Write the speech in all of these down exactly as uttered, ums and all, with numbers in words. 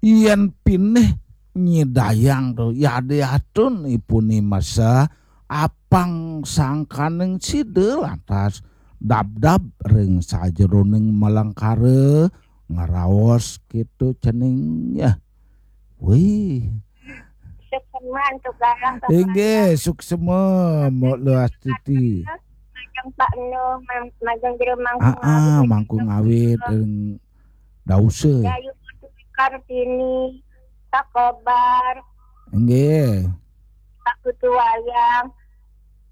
Yén pinih nyidayang to, yadiastun ipun masa apang sangkaning sida lantas dabdab ring sajeroning malengkara ngraos kéto cening ya. Wih. Suksema antuk garang. Inggih, suksema, Mbok Luastiti. Majeng Pak Enu, majeng Jero Mangku. Ah, ah, Mangku Ngawit ring Dausa. Dayu Putu Kartini, Pak Kobar. Inggih. Pak Putu Wayang.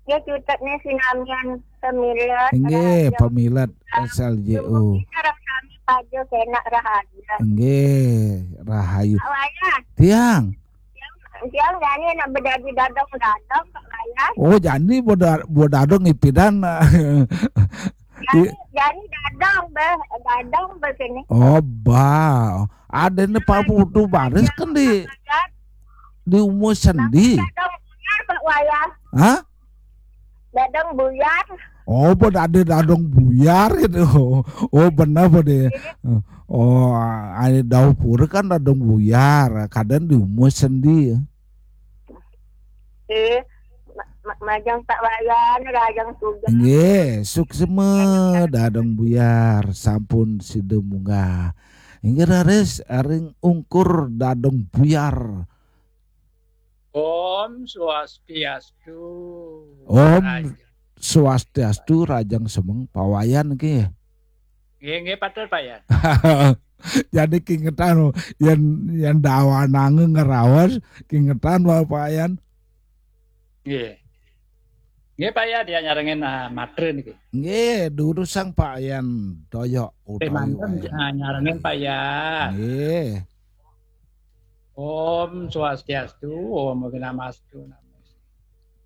Ya, cutetnya sinamian pemilet. Inggih, pemilet S L J O. Sareng sami paja kenak rahayu. Inggih, rahayu. Pak Wayan. Tiang. Tiang, tiang jani nak bedadi dadong-dadong, Pak Wayan. Oh, jani boda-, bodadong ipidan. Jani, jani dadong, Bah. Dadong, Bah, sini. Oh, bah. Ada ne Pak Putu Baris kan di, di umur sendi. Dadong buyar, Pak Wayan. Hah? Dadong buyar. Oh, pada ada dadong buyar gitu. Oh, benar pada. Oh, ada dapur kan dadong buyar. Kadang di umur sendi. Eh, ma-, ma-, majeng Pak Wayan, rajang suga. Nggih, suksema dadong buyar sampun sida munggah. Inggih raris ring ungkur dadong buyar. Om Swastiastu. Om Raja. Swastiastu, rajang semeng Pak Wayan nggih. Nggih, nggih, patut, Pak Yan. Jadi kingetan, yen, yen dawanange ngraos, kingetan wae, Pak Yan. Nggih. Nggih, Pak Yan, ya nyarengin, ah, matre niki. Nggih, durusang Pak Yan Doyok utawi Pak Yan. Ah, nyarengin Pak Yan. Nggih. Om Swastiastu, Om Awighnamastu.